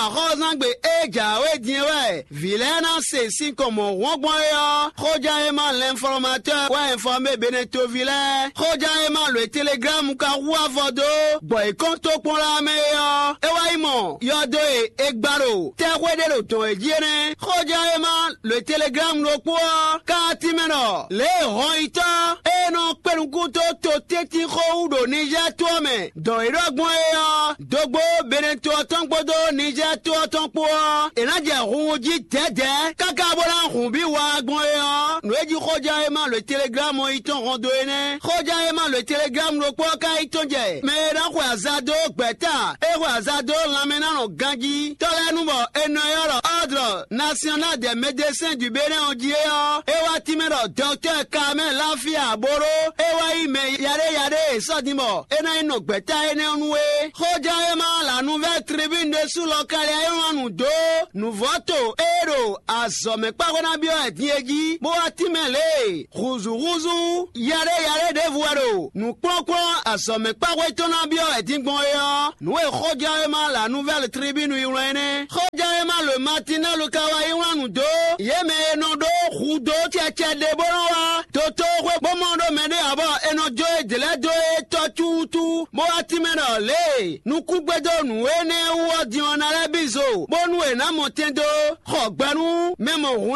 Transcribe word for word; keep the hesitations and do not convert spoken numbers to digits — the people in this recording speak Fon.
Axɔ́zangbe e jǎwe din é wɛ vǐ lɛ́ɛ ná se sinkɔn mɔ̌ hwɔ́n gbɔn é ɔ́, xóján e ma lɛnflɔ́matɔ́ wɛ ɛnfɔ́mé Benetoví lɛ́ɛ. Xóján e ma lǒ e Teleglámu ka hu avɔ dó gbɔ yě kɔn tó kpɔ́n lá mɛ é ɔ́, é wá yi mɔ yɔdo e è gba ɖo tɛ́xwé ɖé ɖo dɔ̌n é jí é nɛ́. Xóján e ma lǒ e Teleglámu ɖokpó ɔ́ ka tínmɛ ɖɔ lě e hɔnyitɔ́ e nɔ kpé nukún dó to tɛ́ntin xó wú ɖo Nizɛ́ɛ to ɔ́ mɛ dɔn yě ɖɔ gbɔn é ɔ́, dógbó Benɛto ɔ́ tɔn kpódó Nizɛ́ɛ to ɔ́ tɔn kpó ɔ́, è nǎ jɛ hunhun jí dɛ̌dɛ̌ káká bó ná hun bǐ wa gbɔn é ɔ́, nǔ e jí xóján e ma lǒ Teleglámu ɔ́ yi tɔn hɔn dó é nɛ́. Xóján e ma lǒ Teleglámu ɖokpó ɔ́ ka yi tɔn jɛ mɛ e nɔ xwe aza dó gbɛ̌ta, e xwe aza dó lanmɛnánɔ ganjí tɔ́ lɛ́ɛ nu bɔ è nɔ ylɔ́ ɖɔ Ordre National des Médecins du Bénin ɔ́ jí é ɔ́, é wá tínmɛ ɖɔ Dɔktɛ́ Kamɛ́ Láfíà Bóɖó é wá yí mɛ yaɖé yaɖé e sɔ́ din bɔ é ná yi nɔ gbɛ̌ta énɛ́ ɔ́ nu é. Xóján e ma La Nouvelle Tribune ɖésú lɔ ka lɛ́ wlán nǔ dó nǔvɔ́to e ɖo azɔ̌mɛkpáxwé ná byɔ́ wɛ din é jí, bó wá tínmɛ lě e hǔzúhúzú yaɖé yaɖé ɖěvo wɛ ɖo nǔkplɔ́nkplɔ́n azɔ̌mɛkpáxwé tɔn ná byɔ́ wɛ din gbɔn é ɔ́, nǔ e xóján e ma La Nouvelle Tribune yi wlán é nɛ́. Xóján e ma Le Matinal ka wá yi wlán nǔ dó yě mɛ e nɔ ɖó hudó cɛcɛ ɖé bó nɔ wá dotóxwé bó mɔ ɖó mɛɖé ǎ bɔ è nɔ jó yě dlɛ́ dó é tɔ́ cúutu, bó wá tínmɛ ɖɔ lě e nukúngbédó nǔ énɛ́ wú ɔ́ din ɔ́ ná lɛ́ bí zo, bónú è nǎ mɔ tɛn dó xɔ gbɛ nú mɛ mɔ hun